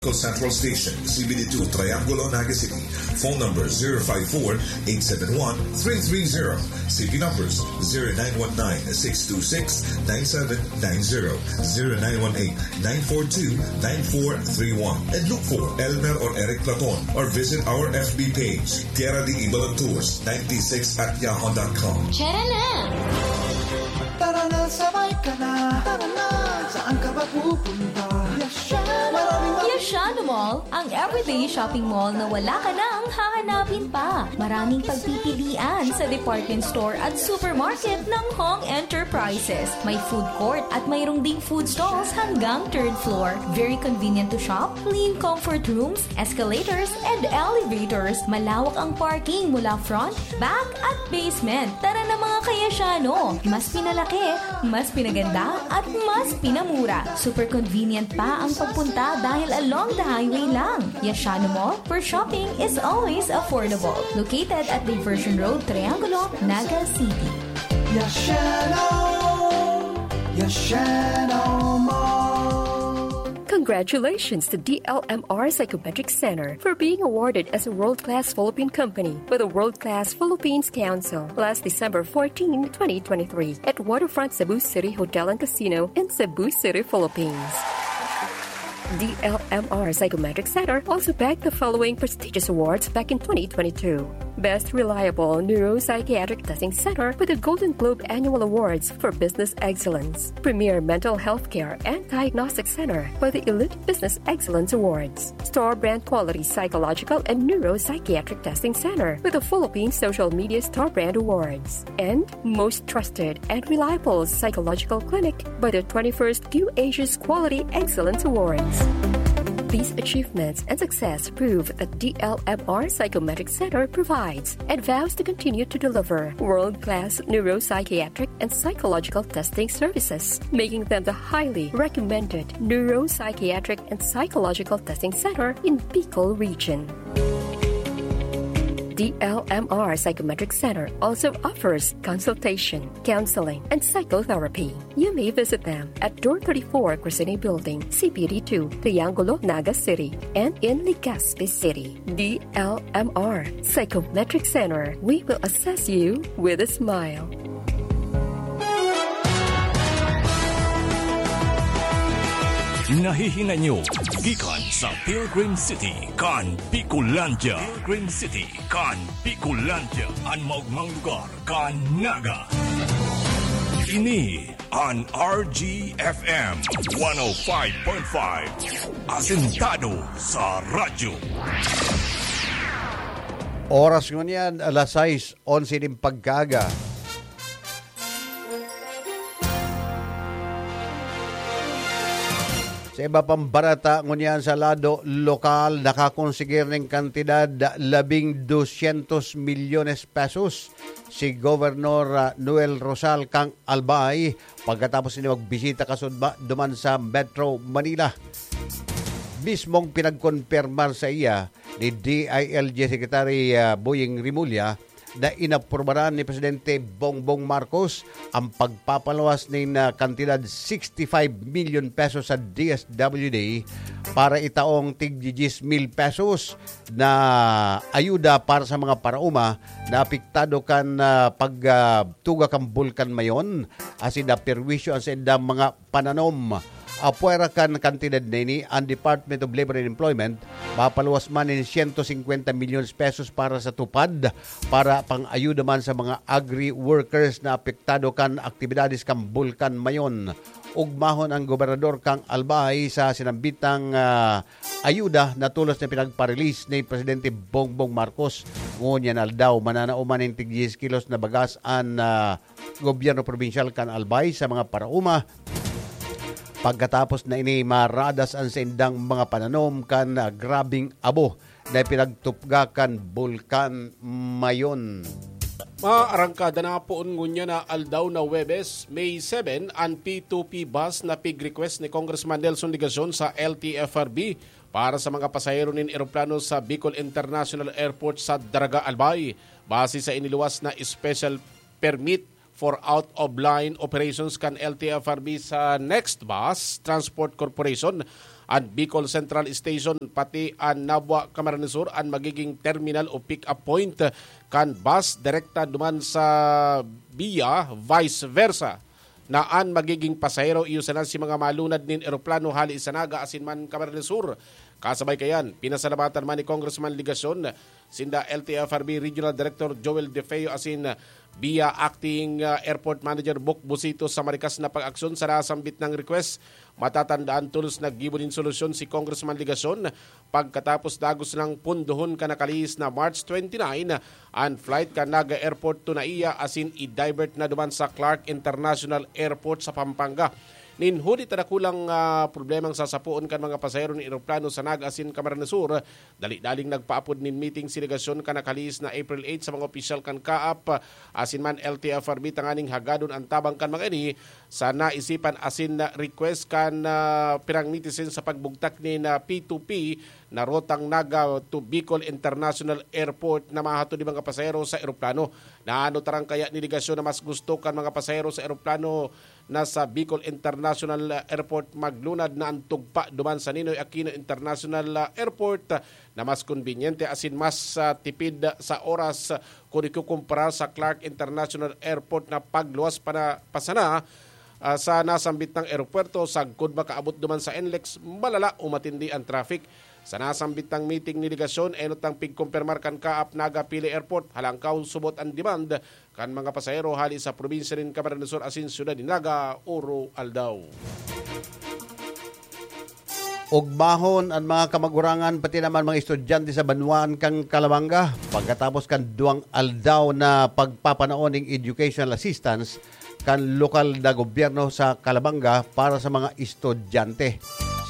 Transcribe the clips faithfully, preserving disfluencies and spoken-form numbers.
Central Station, C B D two, Triangulo, Naga City. Phone number zero five four, eight seven one, three three zero. C P numbers zero nine one nine, six two six, nine seven nine zero, zero nine one eight, nine four two, nine four three one. And look for Elmer or Eric Platon or visit our F B page, Tierra de Ibalan Tours ninety-six at yahoo dot com. Tara na! Tara na, sabay ka na. Tara na, saan ka ba pupunta? Yasha! Maraming Yashano Mall, ang everyday shopping mall na wala ka nang hahanapin pa. Maraming pagpipilian sa department store at supermarket ng Hong Enterprises. May food court at mayroong ding food stalls hanggang third floor. Very convenient to shop, clean comfort rooms, escalators, and elevators. Malawak ang parking mula front, back, at basement. Tara na, mga kayasyano! Mas pinalaki, mas pinaganda, at mas pinamura. Super convenient pa ang pagpunta dahil along the highway lang. Yashano Mall, where shopping is always affordable. Located at Diversion Road, Triangulo, Naga City. Yashano! Yashano Mall! Congratulations to D L M R Psychometric Center for being awarded as a world-class Philippine company by the World Class Philippines Council last December fourteen, twenty twenty-three, at Waterfront Cebu City Hotel and Casino in Cebu City, Philippines. D L M R Psychometric Center also bagged the following prestigious awards back in twenty twenty-two: Best Reliable Neuropsychiatric Testing Center with the Golden Globe Annual Awards for Business Excellence, Premier Mental Health Care and Diagnostic Center for the Elite Business Excellence Awards, Store Brand Quality Psychological and Neuropsychiatric Testing Center with the Philippine Social Media Store Brand Awards, and Most Trusted and Reliable Psychological Clinic by the twenty-first Q Asia's Quality Excellence Awards. These achievements and success prove that D L M R Psychometric Center provides and vows to continue to deliver world-class neuropsychiatric and psychological testing services, making them the highly recommended neuropsychiatric and psychological testing center in Bicol region. D L M R Psychometric Center also offers consultation, counseling, and psychotherapy. You may visit them at Door thirty-four, Crescene Building, C P D two, Triangulo, Naga City, and in Legazpi City. D L M R Psychometric Center. We will assess you with a smile. Nahihinay nyo gikan sa Pilgrim City kan Bicolandia. Pilgrim City kan Bicolandia. An maogmang lugar kan Naga. Ini an R G F M one oh five point five. Asentado sa radyo. Oras ngunyan, alas sais onse nin pagkaaga. Sa iba pang bareta, ngunyan sa lado lokal, nakakonsigir nin kantidad labing dosyentos milyones pesos si Gobernador, ah, Noel Rosal kan Albay pagkatapos niya magbisita kasudma duman sa Metro Manila. Mismong pinagkonpirmar saiya ni D I L G Secretary, ah, Boying Remulla na inaprubaran ni Presidente Bongbong Marcos ang pagpapaluwas nin, ah, kantidad sixty-five million pesos sa D S W D para itaong tig diyes mil pesos na ayuda para sa mga paraoma na apektado kan, ah, pag, ah, tuga kan Bulkan Mayon, asin naperwisyo an saindang mga pananom. Apwera kan kantidad na ini, ang Department of Labor and Employment mapaluwas man nin siyento singkwenta milyones pesos para sa TUPAD, para pang-ayuda man sa mga agri-workers na apektado kan aktibidades kan Bulkan Mayon. Ugmahon ang gobernador kan Albay sa sinambitang, ah, ayuda na tolos na pinagpa-release ni Presidente Bongbong Marcos. Ngunyan aldaw, mananao man nin tig diyes kilos na bagas an, ah, gobyerno probinsyal kan Albay sa mga paraoma. Pagkatapos na ini, maradas an saindang mga pananom kan, ah, grabeng abo na ipinagtupga kan Bulkan Mayon. Mga arangkada, na poon ngunyan na aldaw na Huwebes, May seven, an P two P bus na pig-request ni Congressman Nelson Legacion sa L T F R B para sa mga pasahero nin eroplano sa Bicol International Airport sa Daraga, Albay. Base sa iniluwas na special permit for out-of-line operations kan L T F R B sa Next Bus Transport Corporation, An Bicol Central Station pati an Nabua, Camarines Sur, an magiging terminal o pick-up point kan bus direkta duman sa BIA, vice versa, na an magiging pasahero iyo sana si mga malunad nin eroplano hali sa Naga asin man Camarines Sur. Kasabay kayan, pinasalamatan man ni Congressman Legacion sinda L T F R B Regional Director Joel De Feo asin BIA Acting, ah, Airport Manager Bok Busito sa marikas na pag-aksyon sa nasambit nang request. Matatandaan, tolos naggibo nin solusyon si Congressman Legacion pagkatapos dagos nang pundohon kan nakalihis na March twenty-nine an flight kan Naga Airport to NAIA asin i-divert na duman sa Clark International Airport sa Pampanga. Nin huli ta dakulang, ah, problemang sasapoon kan mga pasahero nin eroplano sa Naga asin Camarines Sur, dali-daling nagpaapod nin meeting si Legacion kan nakalihis na April eight sa mga opisyal kan CAAP asin man L T F R B tanganing hagadon an tabang kan mga ini sa naisipan asin na request kan, ah, pirang netizen sa pagbugtak nin P two P na rotang Naga to Bicol International Airport na mahatod nin mga pasahero sa eroplano. Naano tarang kaya ni Legacion na mas gusto kan mga pasahero sa eroplano na sa Bicol International Airport maglunad na an tugpa duman sa Ninoy Aquino International Airport na mas kombinyente asin mas, ah, tipid sa oras kun ikukumpara sa Clark International Airport na pagluwas pa na, pa sana, ah, sa nasambit na eropuwerto sagkod makaabot duman sa NLEX, malala o matindi an traffic. Sa nasambit na meeting ni Legacion, enot ang pigkumpirmar kan CAAP Naga Pili Airport, halangkaw subot an demand kan mga pasahero hali sa probinsya nin Camarines Sur asin syudad nin Naga, Oro Aldaw. Ogbahon an mga kamagurangan pati naman mga estudyante sa banwaan kan Calabanga pagkatapos kan duwang aldaw na pagpapanaon ning educational assistance kan lokal na gobyerno sa Calabanga para sa mga estudyante.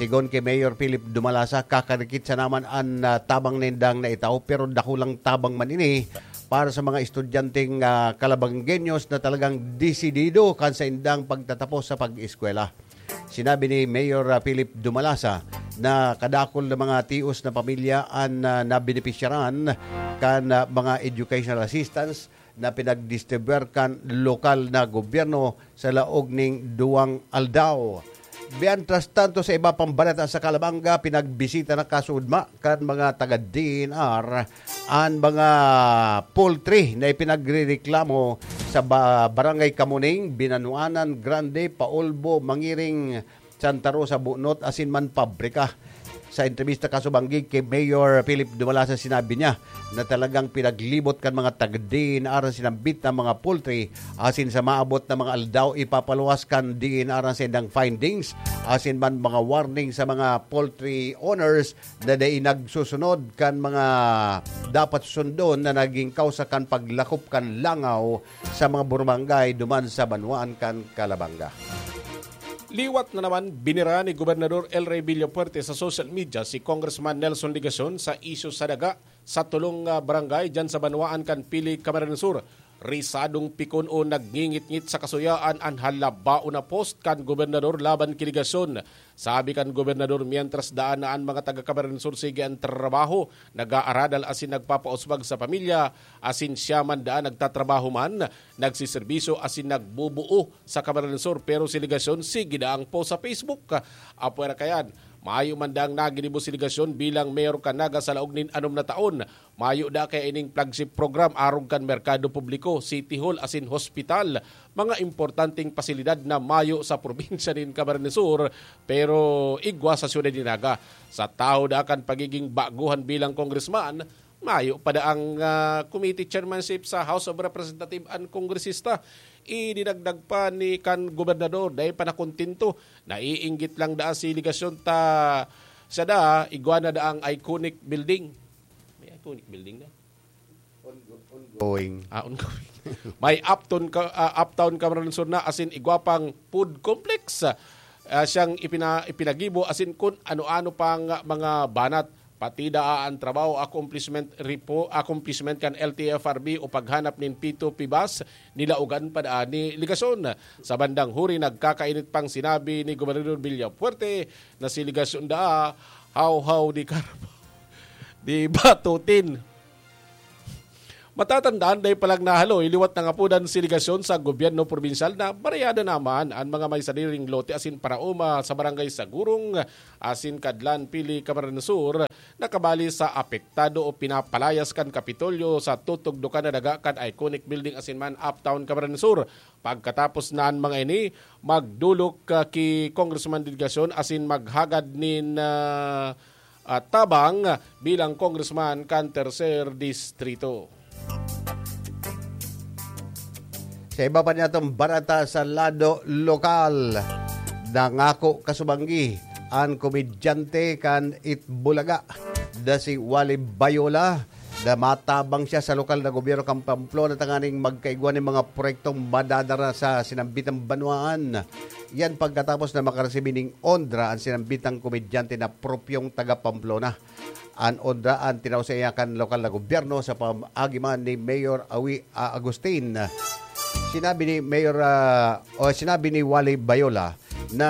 Sigon ki Mayor Philip Dumalasa, kakarikit sa naman an, ah, tabang nindang naitao, pero dakulang tabang man ini para sa mga estudyanteng, ah, Calabangueños na talagang desidido kan saindang pagtatapos sa pag-eskwela. Sinabi ni Mayor, ah, Philip Dumalasa na kadakul na mga tios na pamilya an, ah, nabenepisyaran kan, ah, mga educational assistance na pinagdistribuer kan lokal na gobyerno sa laog ning duwang aldaw. Mientras tanto, sa iba pang balita sa Calabanga, pinagbisita na kasudma kan mga taga D E N R an mga poultry na ipinagrereklamo sa ba-, Barangay Camuning, Binanuanan Grande, Paulbo, Mangiring, Santa Rosa, Bunot, asin man pabrika. Sa entrebista kasubanggig ki Mayor Philip Dumalasa, sinabi niya na talagang pinaglibot kan mga taga-D E N R an sinambit na mga poultry, asin sa maabot na mga aldaw, ipapaluwas kan D E N R an saindang findings, asin man mga warning sa mga poultry owners na dai nagsusunod kan mga dapat sundon na naging kausa kan paglakop kan langaw sa mga burumangay duman sa banwaan kan Calabanga. Liwat na naman, binira ni Gobernador El Rey Villafuerte sa social media si Congressman Nelson Legacion sa isyu sa daga sa tolong, ah, barangay diyan sa banwaan kan Pili, Camarines Sur. Risadong pikon o nagngingitngit sa kasuyaan an halabaon na post kan gobernador laban ki Legacion. Sabi kan gobernador, mientras daan na an mga taga Camarines Sur sige an trabaho, nag-aaradal asin nagpapauswag sa pamilya, asin siya man daan nagtatrabaho man, nagsiserbisyo asin nagbubuo sa Camarines Sur, pero si Legacion sige daang post sa Facebook. Apwera kayan, mayo man daang naginibo si Legacion bilang mayor kan Naga sa laog nin anom na taon. Mayo da kaya ining flagship program arog kan merkado publiko, city hall asin hospital, mga importanteng pasilidad na mayo sa probinsya nin Camarines Sur, pero igwa sa syudad nin Naga. Sa tahaw da kan pagiging baguhan bilang congressman, mayo pa da ang, ah, committee chairmanship sa House of Representatives an kongresista. Idinagdag pa ni kan gobernador, dai pa nakontento, naiinggit lang da si Legacion ta siya da, igwa na da ang iconic building. May iconic building na? Ongo-, ongoing. Ah, ongoing. May Uptown ka, ah, Uptown Camarines Sur na asin igwa pang food complex. Ah, siyang ipina-, ipinagibo asin kun ano-ano pang mga banat. Pati daa an trabaho accomplishment repo-, accomplishment kan L T F R B o paghanap nin P two P bus, nilaogan pa daa ni Legacion. Sa bandang huri, nagkakainit pang sinabi ni Gobernador Villafuerte na si Legacion daa, hawhaw di karpa, di batutin. Patatandaan, dai pa lang nahaloy liwat nangapodan si delegasyon sa gobyerno probinsyal na barayada naman an mga may sariling lote asin paraoma sa Barangay Sagurong asin Kadlan, Pili, Camarines Sur, na kabali sa apektado o pinapalayas kan Kapitolyo sa tutugdokan na daga kan iconic building asin man Uptown, Camarines Sur. Pagkatapos na an mga ini, magdolok, ah, ki Congressman delegasyon asin maghagad nin, ah, ah, tabang bilang congressman kan Tercer Distrito. Sa iba pa niyatong barata sa lado lokal, nangako kasubanggi an komedyante kan Itbulaga na si Wally Bayola na matabang siya sa lokal na gobyerno kan Pamplona tanganing magkaigwa nin mga proyektong madadara sa sinambitang banwaan. Yan pagkatapos na makaresibi ning onra an sinambitang komedyante na propyong taga Pamplona. An onra an tinao sa iya kan lokal na gobyerno sa pamaagi man ni Mayor Awi, ah, Agustin. Sinabi ni Mayor, ah, o sinabi ni Wally Bayola na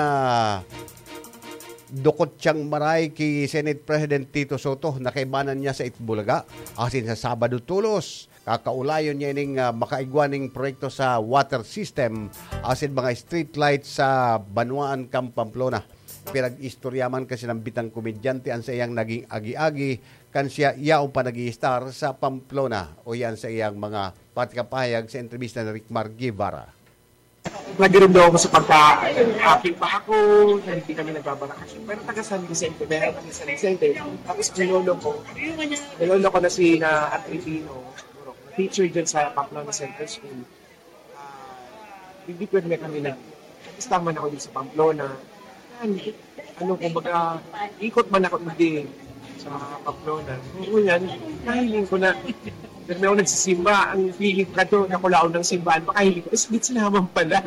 dukot siyang maray ki Senate President Tito Soto na kaibanan niya sa Itbulaga asin sa Sabado tolos. Kakaulayon niya ining, ah, makaigwa ning proyekto sa water system asin mga street lights sa banwaan kan Pamplona. Pinag-istorya man kasi ng bitang komedyante an saiyang naging agi-agi kan siya yaon pa nag-i-star sa Pamplona o yan sa iyang mga patikapahayag sa entrevista ni Rickmar Guevara. Nagirumdaw ako sa pagkain. Aking pa ako, hindi kami nagbabarakas. Pero taga San Vicente, meron kami San Vicente. Tapos ang lolo ko, ang lolo ko na si na Agripino, siguro, teacher dyan sa Pamplona Center School. Ah, hindi pwede na kami na, basta man ako dito sa Pamplona. Yan. Ano, kumbaga, ikot man ako hindi sa Pamplona. Ngunyan, nahiling ko na, nagmay ako nagsisimba, ang feeling ko na to, nakulaon ng simbahan, makahiling ko, is gitsa naman pala.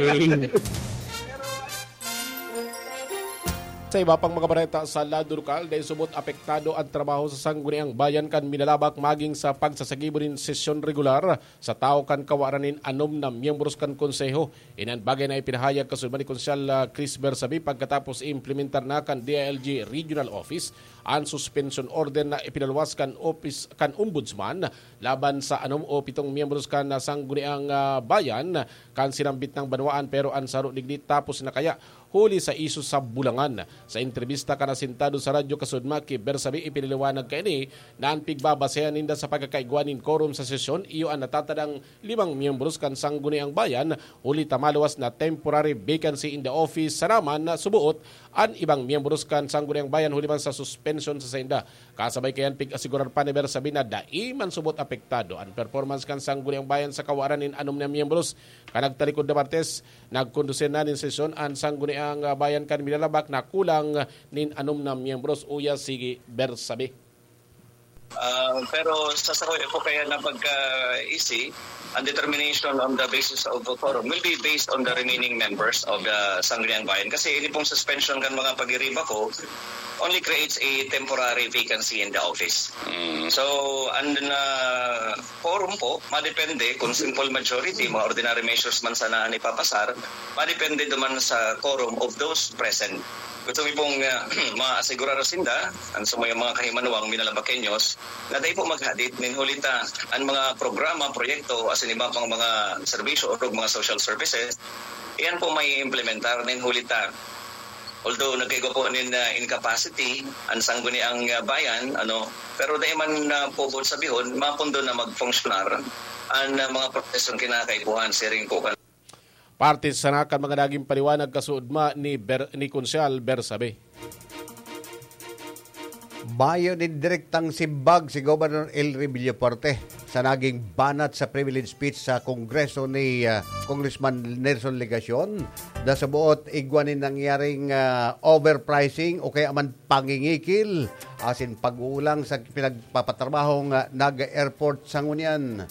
Sa iba pang mga bareta sa lado lokal, dahil subot apektado ang trabaho sa Sangguniang Bayan kan Minalabak maging sa pagsasagibo nin sesyon regular sa tawo kan kawaran nin anom na miyembros kan Konseho. Inan bagay na ipinahayag kasubad ni Konsehal, ah, Chris Bersabe pagkatapos implementar na kan D I L G Regional Office an suspension order na ipinaluwas kan opis-, kan Ombudsman laban sa anom o pitong miyembros kan Sangguniang, ah, Bayan kan sinambit nang banwaan, pero an saro digdi tapos na kaya huli sa isyu sa Bulangan. Sa entrebista kan asentado sa Radyo Kasudma ki Bersabe, ipinaliwanag kaini na an pigbabasehan ninda sa pagkakaigwa nin quorum sa sesyon iyo an natatadang limang miyembros kan Sangguniang Bayan, huli ta maluwas na temporary vacancy in the office sana man na subuot an ibang miyembros kan Sangguniang Bayan huli man sa suspension sa sainda. Kasabay kayan, pig-asigurar pa ni Bersabe na dai man subot apektado an performance kan Sangguniang Bayan sa kawaran nin anom na miyembros. Kan nagtalikod na Martes, nagkondusir na nin sesyon an Sangguniang Bayan kan Minalabak na kulang nin anom na miyembros, uya si Bersabe. Ah, pero sa sakoy ko kaya na pagka-easy, ang determination on the basis of the quorum will be based on the remaining members of the Sangguniang Bayan. Kasi ini pong suspension kan mga pagiriba ko only creates a temporary vacancy in the office. Mm. So, ang na quorum po, madepende kung simple majority, mga ordinary measures man sana ang ipapasar, madepende duman sa quorum of those present. Gusto mi pong, ah, maasigurar sinda, ang sa mga, mga kahimanwang Minalabaqueños, na dai po maghadit nin huli ta an mga programa, proyekto, asin iba pang mga serbisyo o mga social services, iyan po may implementar nin huli ta. Although nagkaigwa po nin, ah, incapacity, ang Sangguniang, ah, Bayan, ano, pero dai man na po buot sabihon, mapundo na magfunksyonar ang, ah, mga prosesong kinakaipuhan, siring po kan Parte sana kan mga naging paliwanag kasuodma ni Ber-, ni Konsehal Bersabe. Mayo nin direktang simbag si Governor Elry Villafuerte sa naging banat sa privilege speech sa Kongreso ni, ah, Congressman Nelson Legacion. Nasabuot igwa nin nangyaring, ah, overpricing o kaya man pangingikil asin pag-uulang sa pinagpapatrabahong, ah, Naga Airport sa ngunyan.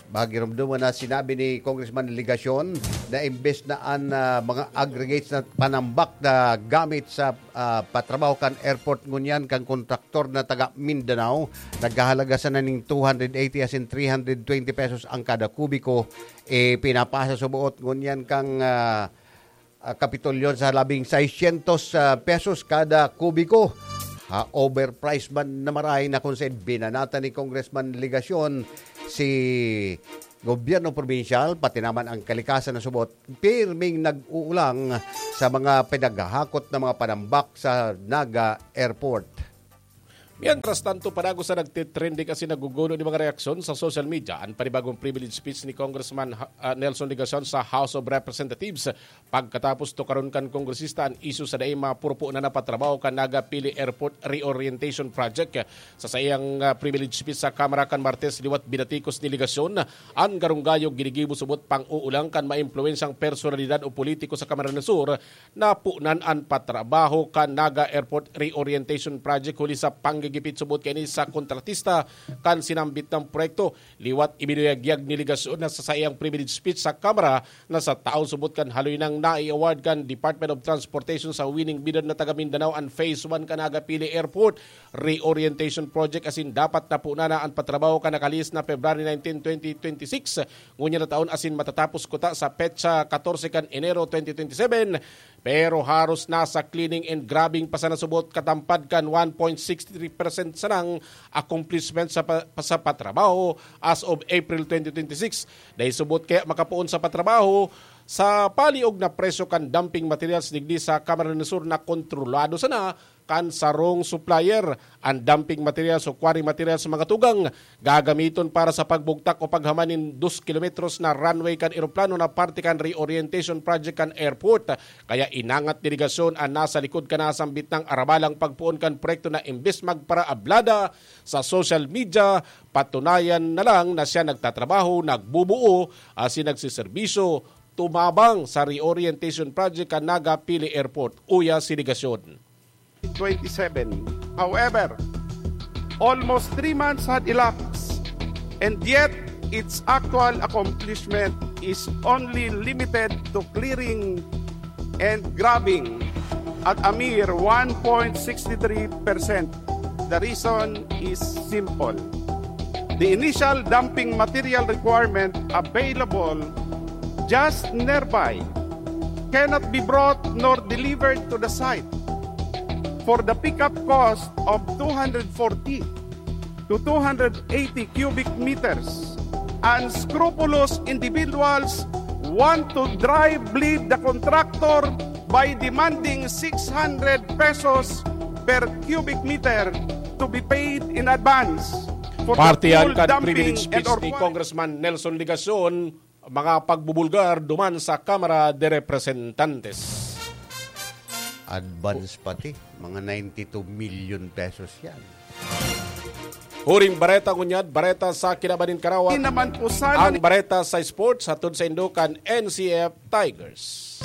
Magirumduman na sinabi ni Congressman Legacion na imbes na an, ah, mga aggregates na panambak na gamit sa, ah, patrabaho kan airport ngunyan kan kontraktor na taga Mindanao, naghahalaga sana ning two hundred eighty asin three hundred twenty pesos ang kada kubiko, eh, pinapasa sa buot ngunyan kang, ah, ah, Kapitolyo sa labing seiscientos, ah, pesos kada kubiko. ha, overpriced man na marahay na kung saan binanatan ni Congressman Legacion si gobyerno probinsyal, pati naman ang kalikasan na subot, pirming nag-uulang sa mga pinaghahakot na mga panambak sa Naga Airport. Mientras tanto, panago sa nagtitrending asin nagugulo ni mga reaksyon sa social media an panibagong privilege speech ni Congressman, ah, Nelson Legacion sa House of Representatives. Pagkatapos tukaron kan kongresista an isyu sa dai mapupunan na patrabaho kan Naga Pili Airport Reorientation Project. Sa saiyang, ah, privilege speech sa Kamara kan Martes, liwat binatikos ni Legacion an garunggayong ginigibo subot pang-uulang kan maimpluwensyang personalidad o politiko sa Camarines Sur na punan an patrabaho kan Naga Airport Reorientation Project huli sa panggigipit subot kaini sa kontratista kan sinambit na proyekto. Liwat ibinuyagyag ni Legacion na sa saiyang privilege speech sa Kamara na sa taon subot kan haloy nang nai-award kan Department of Transportation sa winning bidder na taga Mindanao an Phase one kan Naga Pili Airport Reorientation Project asin dapat na punan na an patrabaho kan nakalihis na February nineteen, twenty twenty-six. Ngunyan na taon asin matatapos kuta sa petsa katorse kan Enero twenty twenty-seven, pero haros nasa cleaning and grubbing pa sana subot katampad kan one point six three percent sanang accomplishment sa pa-, sa patrabaho as of April twenty twenty-six. Dai subot kaya makapoon sa patrabaho sa paliog na presyo kan dumping materials digdi sa Camarines Sur na kontrolado sana kan sarong supplier. An dumping materials o quarry materials sa mga tugang gagamiton para sa pagbugtak o paghaman nin dos kilometros na runway kan eroplano na parte kan reorientation project kan airport. Kaya inangat ni Legacion an nasa likod kan nasambit na arabalang pagpoon kan proyekto na imbes magparaablada sa social media, patunayan na lang na siya nagtatrabaho, nagbubuo, asin nagseserbisyo, tumabang sa reorientation project kan Naga Pili Airport, uya si Legacion. Twenty-seven. However, almost three months had elapsed, and yet its actual accomplishment is only limited to clearing and grubbing at a mere one point six three percent. The reason is simple. The initial dumping material requirement available just nearby cannot be brought nor delivered to the site for the pickup cost of two hundred forty to two hundred eighty cubic meters. Unscrupulous individuals want to dry bleed the contractor by demanding six hundred pesos per cubic meter to be paid in advance for the Parte yan full kan dumping privilege and speech or ni Congressman Nelson Legacion, mga pagbubulgar duman sa Kamara de Representantes. Advance pati, mga ninety-two million pesos yan. Huring bareta ngunyan, bareta sa kinaban nin kaarawan. Di naman po sana Ang ni- bareta sa sports, hatod saindo kan N C F Tigers.